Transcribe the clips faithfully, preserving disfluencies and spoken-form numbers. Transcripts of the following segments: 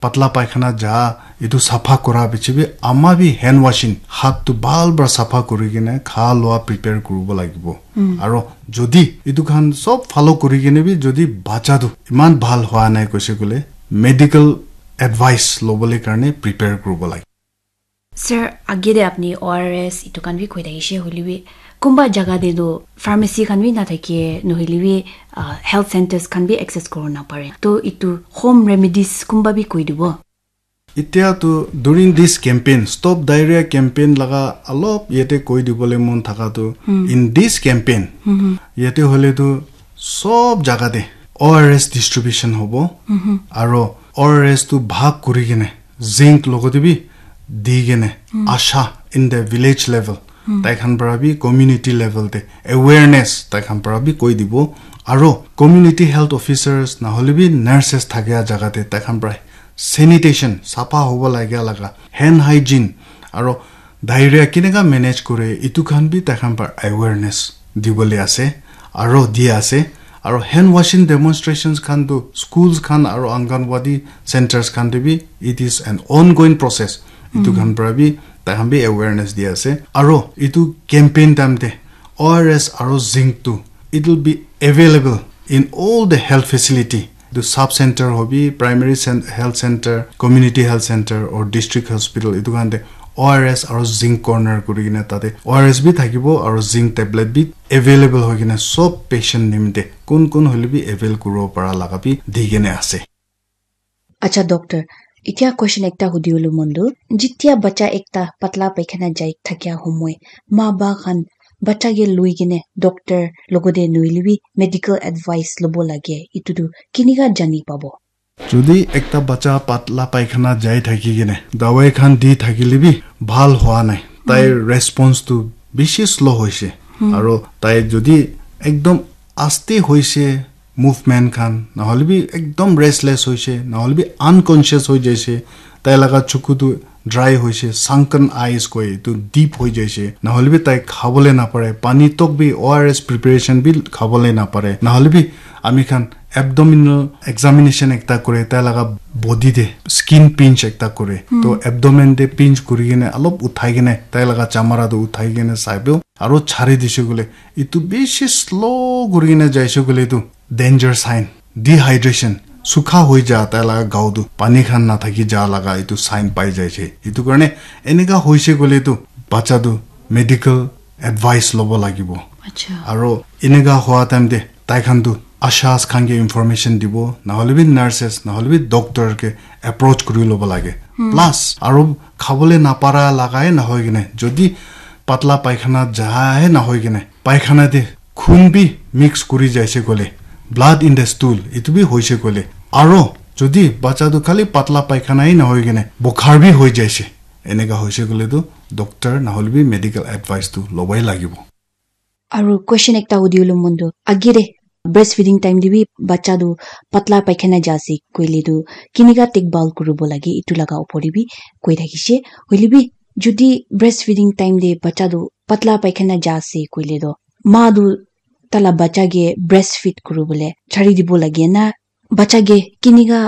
Patla paikhana ja, etu sapha kura piche bi ama bi hand washing, hath tu bhal para sapha kuri kene kha lua prepare kuribo lagibo. Aro jodi etu khan sob follow kuri kene bi jodi bacha tu iman bhal hua nai koise kole medical advice lobole karne prepare kuribo lage. Sir, age de apni O R S itu khan bi koi thakishe hoile bi kunba jaga de do pharmacy khan bi na thake nohile bi uh, health centers khan bi access kori na pare. To itu home remedies kunba bi koi dibo. Itya tu during this campaign, stop diarrhea campaign laga alop yate koi dibole mon thaka tu in this campaign yate hole tu sob jaga de O R S distribution hobo aro O R S tu bhag kuri kene zinc logote bi di kene asha in the village level tai khan para bi community level te awareness tai khan para bi koi dibo aro community health officers na hole bi nurses thakia jaga te tai khan para sanitation sapha hobo lagia laga hand hygiene aro diarrhea kineka manage kore itu khan bi tai khan para awareness dibole ase aro di ase aro hand washing demonstrations khan tu schools khan aro anganwadi centers khan te bi it is an ongoing process itu khan para bi tai khan bi awareness di ase aro itu campaign time te O R S aro zinc tu it will be available in all the health facility. The sub center hobi, primary cen- health center, community health center or district hospital itu khan te O R S aro zinc corner kuri kena tate O R S bi thakibo aro zinc tablet bi available hoi kena sob patient nimite kun kun hole bi avail kuribo para laga bi di kena ase. Acha doctor, itya question ekta hudi ulu mondu. Jitya bacha ekta patla paikhana jai thakya homoi, ma ba khan bacha ke lui kene doctor logode nohile bi medical advice lobo lage. Itu tu kinika jani pabo? Jodi ekta bacha patla paikhana jai thaki kene dawai khan di thakile bi bhal hua nai. Tai response tu bishi slow hoise. Aro tai jodi ekdom aste hoise movement khan nahole bi ekdom restless hoise nahole bi unconscious hoi jaise tai laga chuku tu dry hoise sunken eyes koi etu deep hoi jaise nahole bi tai khabole napare pani tok bi O R S preparation bi khabole napare nahole bi ami khan abdominal examination ekta kore tai laga body te skin pinch ekta kore to abdomen te pinch kuri kene alop uthai kene tai laga chamara tu uthai kene saibo aro chari dise koile etu bishi slow kuri kene jaise koile etu danger sign dehydration sukha hoi ja tai laga gao tu pani khan na thaki ja laga etu sign pai jaise etu karne eneka hoise koile tu bacha tu medical advice lobo lagibo Acha. Aro eneka hoa time te tai khan tu ashas khan ke information dibo nahole bi nurses nahole bi doctor ke approach kuri lobo lage plus aro khabole napara lagai nahoi kene jodi patla paikhana jaha he nahoi kene paikhana te khun bi mix kuri jaise kole blood in the stool etu bi hoise kole aro jodi bacha tu khali patla paikhana he nahoi kene bukhar bi hoi jaise eneka hoise kole tu doctor nahole bi medical advice tu lobai lagibo Aru question ekta hudi ulu mondu agire breastfeeding time de bi bacha tu patla paikhana ja ase koile tu kinika tekbal kuribo lage itu laga opor de bi koi thakishe hoile bi jodi breastfeeding time de bacha tu patla paikhana ja ase koile tu ma tu tala bacha ke breastfeed kuribole chari dibo lage na bacha ke kinika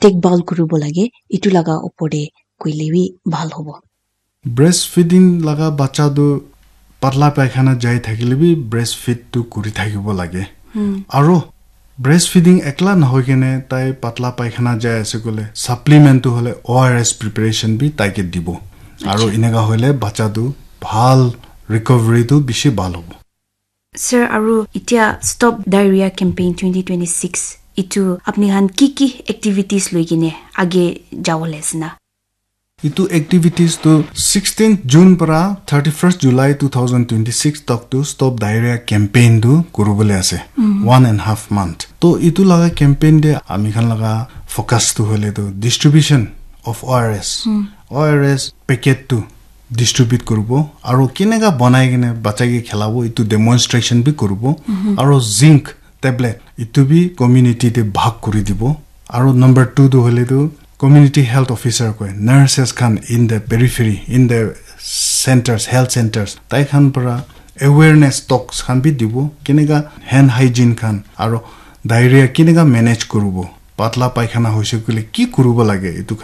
tekbal kuribo lage itu laga opor de koile bi bhal hobo Breastfeeding laga bacha tu patla paikhana jai thakile bi breastfeed tu kuri thakibo lage. Aro breastfeeding ekla nahoi kene tai patla paikhana jai ase kole supplement tu hole O R S preparation bi tai ke dibo. Aro eneka hoile bacha tu bhal recovery tu bishi bhal hobo. Sir, aru itia Stop Diarrhea Campaign twenty twenty-six itu apni khan ki ki activities loi kine age jawole ase na? Itu activities tu sixteenth June para thirty-first July two thousand twenty-six tak tu Stop Diarrhea Campaign tu kuribole ase. One and half month. To itu laga campaign de ami khan laga focus tu hoile tu distribution of O R S. O R S packet tu distribute kuribo aro kineka banai kene bacha ke khilabo itu demonstration bi kuribo aro zinc tablet itu bi community te bhag kuri dibo aro number two tu hoile tu community health officer koi nurses khan in the periphery in the centers health centers tai khan para awareness talks khan bi dibo kineka hand hygiene khan aro diarrhea kineka manage kuribo Patla paikhana hoise koile ki kuribo lage, etu khan